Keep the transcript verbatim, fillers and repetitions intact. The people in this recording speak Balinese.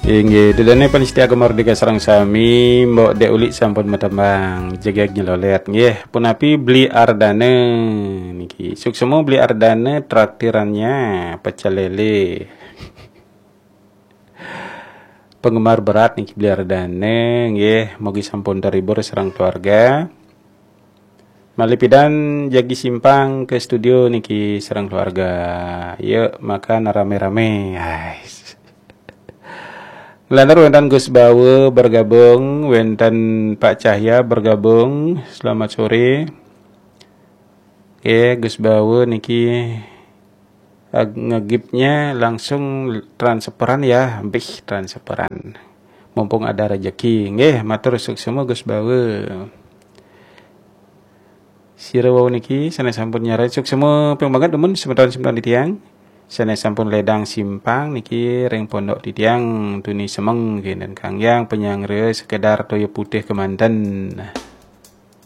Inggih, ida dané pamiarsa Gema Merdeka sareng sami, Mbok Dék Ulik sampun matembang, jegég nyelolet. Nggih, punapi Bli Ardana niki. Suksma Bli Ardana, traktirannya pecel lele. Penggemar berat niki Bli Ardana, nggih, mugi sampun terhibur sareng keluarga. Malih pidan jagi simpang ke studio niki sareng keluarga. Yuk, makan rame-rame. Ais. Nglantur wénten Gus Bawa bergabung, wénten Pak Cahya bergabung. Selamat sore. Oke, Gus Bawa niki, eh, ngegipnya langsung transferan ya, bih, transferan. Mumpung ada rezeki. Nggih, matur suksma Gus Bawa. Sira wau niki sané sampun nyarengin, suksma ping banget dumun semeton-semeton titiang. Sané sampun ledang simpang niki ring pondok titiang tuni semeng kenten kanggé panyanggra sekedar toya putih kemanten.